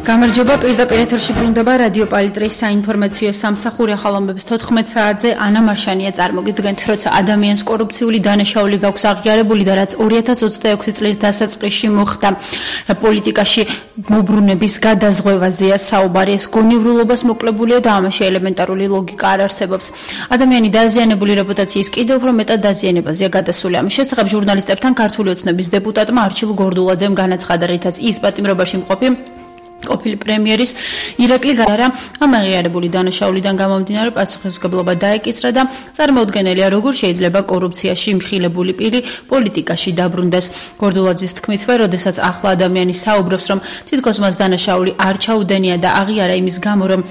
გამარჯობა, პირდაპირ ეთერში ბრუნდება რადიო პალიტრის საინფორმაციო სამსახური ახალამბების 14 საათზე ანა მარშანია წარმოგიდგენთ, როცა ადამიანს კორუფციული დანაშაული გაქვს აღიარებული და რაც 2026 წლის დასაწყისში მოხდა. პოლიტიკაში მობრუნების გადაზღვევაზეა საუბარი, ეს გონივრულობას მოკლებულია და ამაში ელემენტარული ლოგიკა არ არსებობს. ადამიანი დაზიანებული რეპუტაციის კიდევ უფრო მეტად დაზიანებაზეა გადასული. ამის შესახებ ჟურნალისტებთან ქართული ოცნების დეპუტატმა არჩილ გორდულაძემ განაცხადა, რითაც ის პატიმრობაში მყოფი ყოფილი პრემიერის ირაკლი გარარა ამ აღიარებული დანაშაულიდან გამომდინარე პასუხისმგებლობა დაეკისრა და წარმოუდგენელია, როგორ შეიძლება კორუფციაში მხილებული პირი პოლიტიკაში დაბრუნდეს. გორდულაძის თქმით, როდესაც ახლა ადამიანი საუბრობს, რომ თითქოს მას დანაშაული არ ჩაუდენია და აღიარა იმის გამო, რომ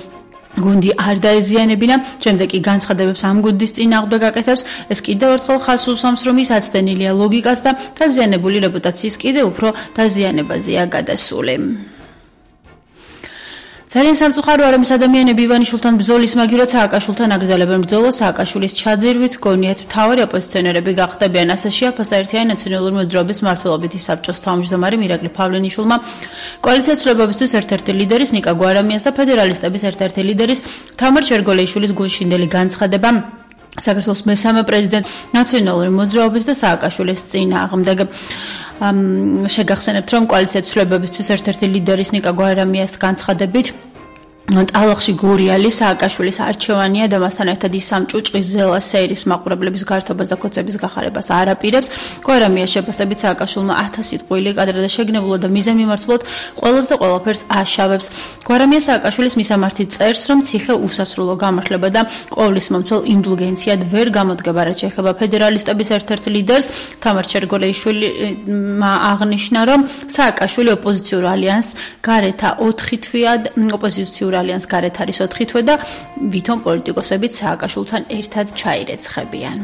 გუნდი არ დაეზიანებინა, შემდეგ კი განცხადებებს ამ გუნდის წინააღმდეგ გაკეთებს, ეს კიდევ ერთხელ ხაზს უსვამს, რომ ის აცდენილია ლოგიკას და დაზიანებული რეპუტაციის კიდევ უფრო დაზიანებაზეა გადასული. ძალიან სამწუხარო არის ადამიანები ივანიშვილთან ბრძოლის მაგივრად სააკაშვილთან აგრძელებენ ბრძოლას. სააკაშვილის ჩაძირვით გონიათ მთავარი ოპოზიციონერები გახდებიან. ასაშია ფასაერთიანი ნაციონალური მოძრაობის მმართველობითი საბჭოს თავმჯდომარე მირაკლი ფავლენიშვილმა, კოალიცია ცვლილებებისთვის ერთ-ერთი ლიდერის ნიკა გვარამიას და ფედერალისტების ერთ-ერთი ლიდერის თამარ ჩერგოლეიშვილის გულშინდელი განცხადება საქართველოს მესამე პრეზიდენტ ნაციონალური მოძრაობის და სააკაშვილის წინააღმდეგ. შეგახსენებთ, რომ კოალიცია ცვლილებებისთვის ერთ-ერთი ლიდერის ნიკა გვარამიას განცხადებით ტალახში გურიალი სააკაშვილის არჩევანია და მასთან ერთად ის სამ ჭუჭყის ზელა სეირის მაყურებლების გართობას და ქოცების გახარებას არ აპირებს. გვარამიას შეფასებით სააკაშვილმა 1000 სიტყვილი კადრა და შეგნებულად და მიზანმიმართულად ყველას და ყველაფერს აშავებს. გვარამია სააკაშვილის მისამართი წერს, რომ ციხე უსასრულო გამართლება და ყოვლის მომცველ ინდულგენციად ვერ გამოდგება, რაც შეეხება ფედერალისტების ერთ-ერთ ლიდერს. თამარ ჩერგოლეიშვილმა აღნიშნა, რომ სააკაშვილი ოპოზიციურ ალიანსს გარეთა 4 თვეა ოპოზიციურ ალიანს გარეთ არის 4 თვე და ვითომ პოლიტიკოსებიც სააკაშვილთან ერთად ჩაირეცხებიან.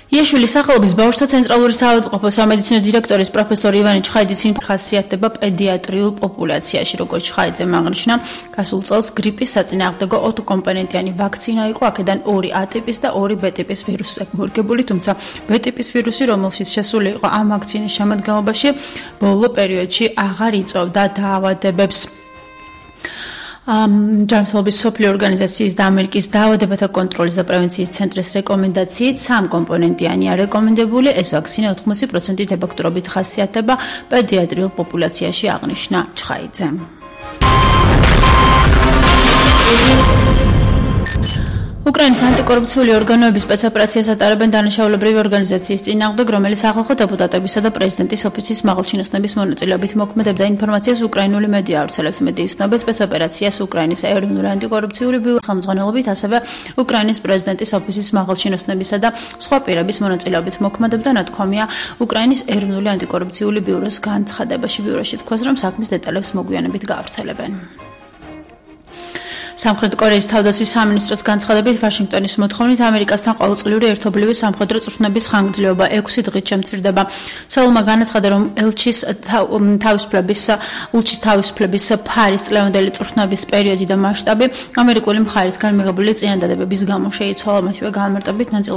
იაშვილის სახელობის ბავშვთა ცენტრალური საავადმყოფო სამედიცინო დირექტორის პროფესორი ივანე ჩხაიძის ხასიათდება პედიატრიულ პოპულაციაში. როგორც ჩხაიძემ აღნიშნა, გასულ წელს გრიპის საწინააღმდეგო 2 კომპონენტიანი ვაქცინა იყო, აქედან 2 A ტიპის და 2 B ტიპის ვირუსი მორგებული, თუმცა B ტიპის ვირუსი, რომელშიც შესული იყო ამ ვაქცინის შემადგენლობაში, ბოლო პერიოდში აღარ იწვევდა დაავადებებს. ჯანმრთელობის მსოფლიო ორგანიზაციის და ამერიკის დაავადებათა კონტროლის და პრევენციის ცენტრის რეკომენდაციით 3 კომპონენტიანია რეკომენდებული. ეს ვაქცინა 80%-ით ეფექტურობით ხასიათდება პედიატრიულ პოპულაციაში, აღნიშნა ჩხაიძემ. უკრაინის ანტიკორუფციული ორგანოების სპეცოპერაციას ატარებენ დანაშაულებრივი ორგანიზაციის წინააღმდეგ, რომელიც ახალ დეპუტატებისა და პრეზიდენტის ოფისის მაღალჩინოსნების მონაწილეობით მოქმედებდა ინფორმაციას უკრაინული მედია ავრცელებს. მედიის ცნobel სპეცოპერაციას უკრაინის ეროვნული ანტიკორუფციული ბიურო ხელმძღვანელობით, ასევე უკრაინის პრეზიდენტის ოფისის მაღალჩინოსნებისა და სხვა პირების მონაწილეობით მოქმედებდა, ნათქვამია უკრაინის ეროვნული ანტიკორუფციული ბიუროს განცხადებაში. ბიუროში თქვას, რომ საქმის დეტალებს მოგვიანებით გაავრცელებენ. სამხრეთ კორეის თავდაცვის სამინისტროს განცხადებით, ვაშინგტონის მოთხოვნით ამერიკასთან ყოველწლიური ერთობლივი სამხედრო წვრთნების ხანგრძლივობა 6 დღით შემცირდება. სეულმა განაცხადა, რომ ელჩის თავისუფლების ფარის წლევანდელი წვრთნების პერიოდი და მასშტაბი ამერიკული მხარისგან მიღებული წინადადებების გამო შეიცვალა. მათივე განმარტებით, ნაწილობრივ